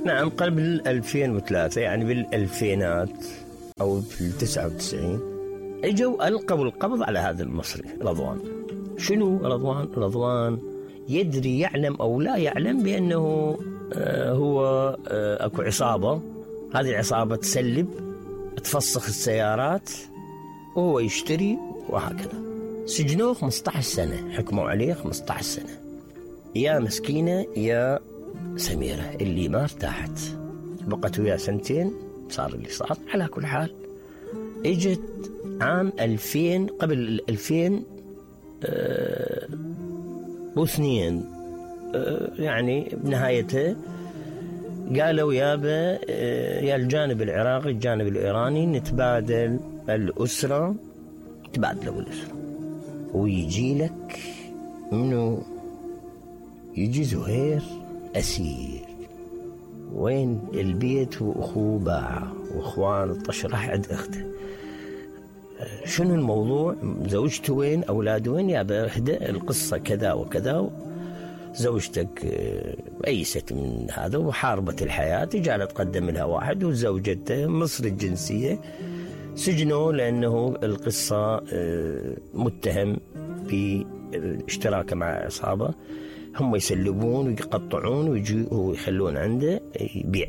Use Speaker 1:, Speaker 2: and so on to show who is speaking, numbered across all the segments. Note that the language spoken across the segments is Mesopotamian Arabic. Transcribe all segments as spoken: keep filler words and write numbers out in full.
Speaker 1: نعم قبل ألفين وثلاثة، يعني بالألفينات أو في التسعة وتسعين اجوا ألقوا القبض على هذا المصري رضوان. شنو رضوان؟ رضوان يدري يعلم أو لا يعلم بأنه آه هو آه أكو عصابة، هذه العصابة تسلب تفسخ السيارات وهو يشتري وهكذا. سجنوه خمسة عشر سنة، حكموا عليه خمسة عشر سنة. يا مسكينة يا سميرة اللي ما ارتاحت، بقت وياه سنتين صار اللي صار. على كل حال اجت عام ألفين، قبل ألفين آه واثنين آه يعني بنهايتها قالوا يابا آه يا الجانب العراقي الجانب الإيراني نتبادل الأسرة، تبادلوا الأسرة. ويجي لك منو؟ يجي زهير أسير. وين البيت وأخوه باع وأخوان الطشرح عند أخته. شنو الموضوع؟ زوجته وين؟ أولاده وين؟ يا بهدأ القصة كذا وكذا. زوجتك أيست من هذا وحاربت الحياة، جعلت تقدم لها واحد، وزوجته مصري الجنسية سجنوا لأنه القصة متهم باشتراكه مع عصابة، هم يسلبون ويقطعون ويجوا ويخلون عنده يبيع.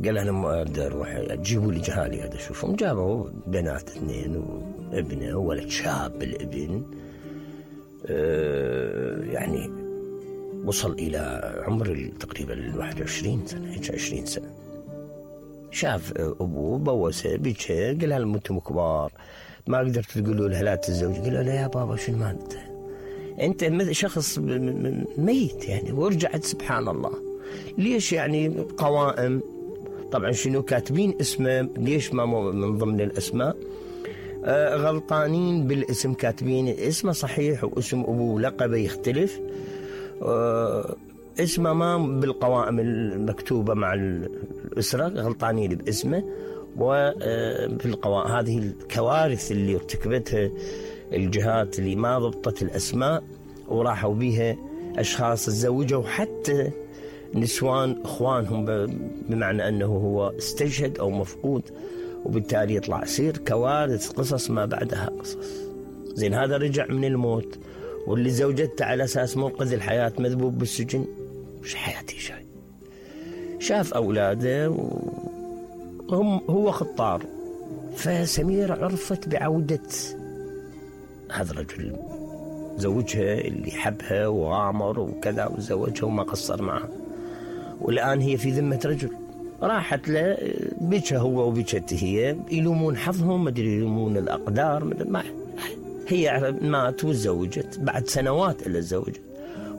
Speaker 1: قال أنا ما أقدر أروح، جيبوا لي جهالي هذا. شوفهم جابوا بنات اثنين وابنه ولد شاب. الابن أه يعني وصل إلى عمر تقريبا واحد وعشرين سنة، عشرين سنة. شاف أبوه بوسه بيجه، قال لهم أنتم كبار ما قدرت تقولوا له لا تتزوج. قال له لا يا بابا شنو ما أنت أنت شخص ميت يعني. ورجعت سبحان الله ليش يعني قوائم طبعا شنو كاتبين اسمه، ليش ما من ضمن الأسماء آه غلطانين بالاسم، كاتبين اسمه صحيح واسم أبوه لقبه يختلف، آه اسمه ما بالقوائم المكتوبة مع الأسرة، غلطانين باسمه. وفي القوائم هذه الكوارث اللي ارتكبتها الجهات اللي ما ضبطت الأسماء وراحوا بيها أشخاص تزوجوا حتى نسوان إخوانهم، بمعنى أنه هو استشهد أو مفقود، وبالتالي يطلع يصير كوارث، قصص ما بعدها قصص. زين هذا رجع من الموت، واللي زوجته على أساس منقذ الحياة مذبوب بالسجن. مش حياتي شيء. شاف أولاده وهم هو خطار. فسميرة عرفت بعودة هذا الرجل، زوجها اللي حبها وغامر وكذا وزوجها وما قصر معها، والآن هي في ذمة رجل. راحت له بيتها هو وبيتها هي، يلومون حظهم، مدري يلومون الأقدار، ما هي مات وتزوجت بعد سنوات إلا تزوجت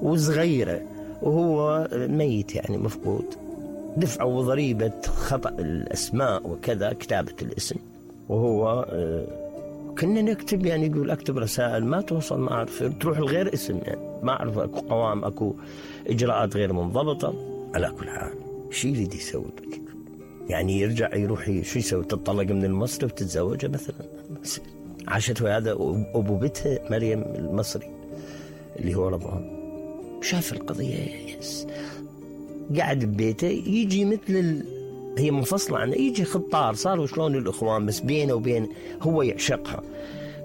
Speaker 1: وصغيرة، وهو ميت يعني مفقود. دفعوا ضريبة خطأ الأسماء وكذا، كتابة الاسم. وهو كنا نكتب يعني يقول أكتب رسائل ما توصل، ما أعرف تروح الغير اسم يعني، ما أعرف أكو قوام أكو إجراءات غير منضبطة. على كل حال شو يريد يسوي بك؟ يعني يرجع يروح شو يسوي؟ تطلق من المصري وتتزوجه مثلا؟ عاشت وهذا أبو بيتها مريم المصري اللي هو رضوان. شاف القضية يس قاعد ببيته، يجي مثل ال... هي منفصلة عنه، يجي خطار صاروا شلون الإخوان، بس بينه وبين هو يعشقها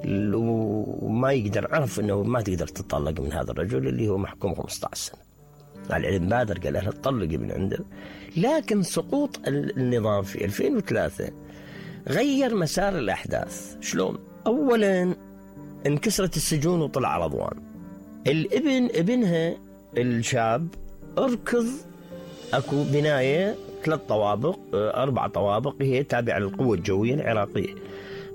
Speaker 1: وما يقدر، عرف أنه ما تقدر تطلق من هذا الرجل اللي هو محكوم خمسة عشر سنة. على العلم بادر قال له تطلق من عنده. لكن سقوط النظام في ألفين وثلاثة غير مسار الأحداث. شلون؟ أولا انكسرت السجون وطلع رضوان. الابن ابنها الشاب اركض، اكو بناية ثلاث طوابق اربع طوابق هي تابعة للقوة الجوية العراقية.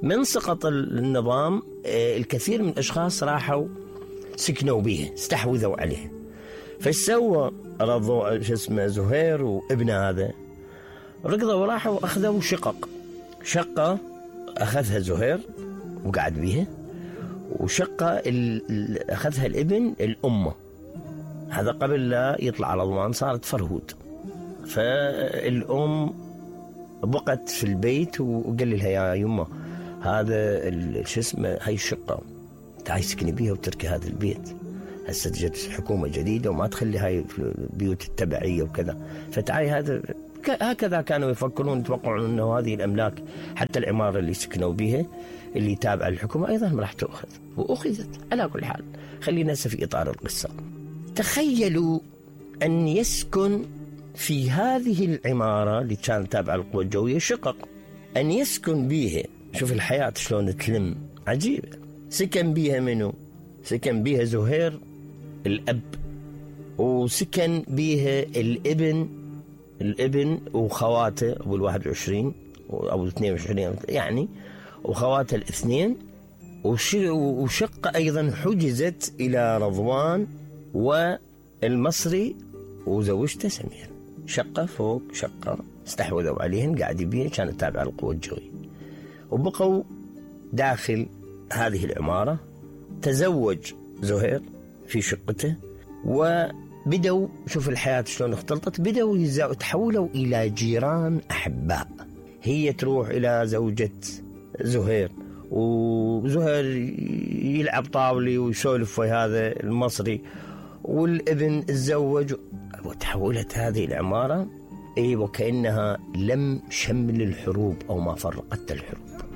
Speaker 1: من سقط النظام الكثير من الاشخاص راحوا سكنوا بيها، استحوذوا عليها. فسوى رضو شو اسمه زهير وابن هذا ركضوا وراحوا اخذوا شقق. شقة اخذها زهير وقعد بيها، وشقة اخذها الابن الامه. هذا قبل لا يطلع رضوان صارت فرهود. فالأم بقت في البيت وقال لها يا يمه هذا شو اسمه هاي الشقة تعي سكني بيها وتركي هذا البيت. هسه جت حكومة جديدة وما تخلي هاي البيوت التبعية وكذا. فتعي هذا هكذا كانوا يفكرون، يتوقعون أنه هذه الأملاك حتى العمارة اللي سكنوا بها اللي تابعة للحكومة أيضا راح تأخذ، وأخذت. على كل حال خلينا هسه في إطار القصة. تخيلوا أن يسكن في هذه العمارة اللي كانت تابعة للقوى الجوية شقق، أن يسكن بيها، شوف الحياة شلون تلم، عجيبة. سكن بيها منو؟ سكن بيها زهير الأب، وسكن بيها الابن الابن وخواته أبو الواحد وعشرين أو الاثنين وعشرين يعني، وخواته الاثنين. وشقة أيضا حجزت إلى رضوان والمصري وزوجته سمير، شقة فوق شقة استحوذوا عليهن، قاعد بيها، كانت تابعة للقوى الجوية. وبقوا داخل هذه العمارة. تزوج زهير في شقته، وبدوا، شوف الحياة شلون اختلطت، بدوا يتحولوا إلى جيران أحباء. هي تروح إلى زوجة زهير، وزهير يلعب طاولي ويسولف في هذا المصري، والابن تزوج، وتحولت هذه العمارة اي وكأنها لم شمل الحروب أو ما فرقت الحروب.